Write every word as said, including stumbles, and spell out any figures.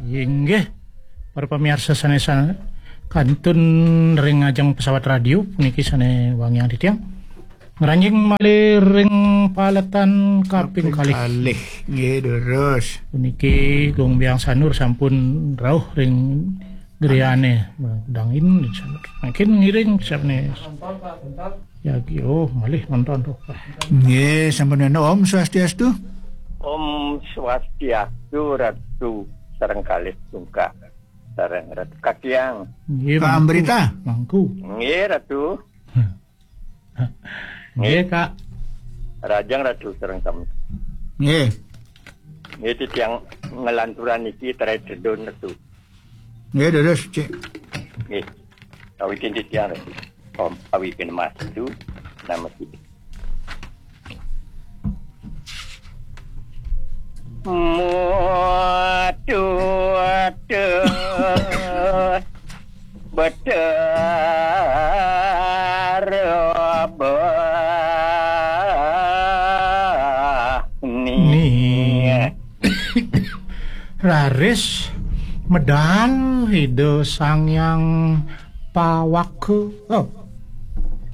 Inggih, para pamiarsa sané sa-, kantun ring ajeng pesawat radio puniki sané wangiang titiang. Ngranjing malih ring paletan kaping kalih. Kalih. Nggih, durus. Puniki Gung Biang Sanur sampun rauh ring griyané. Dangin mangkin ngiring sané. Ya, oh, malih nonton tuh. Nggih, sampun wénten. Om Swastiastu. Om Swastiastu, Ratu sareng kalih tungkak. Sareng Ratu Kakiang. Nggih, Kak Amrita. Mangku. Nggih, Ratu. Nggih, Kak. Rajang Ratu sareng sami. Nggih. Nggih, titiang nglanturang niki Trai Tedun, Ratu. Nggih, durus, Cik. Nggih. Kawitin titiang, Ratu. Om Awighnamastu Namo Sidham. Mutu Betara Bani. Ni. Raris medal Ida Sang Hyang Pawaka. Oh,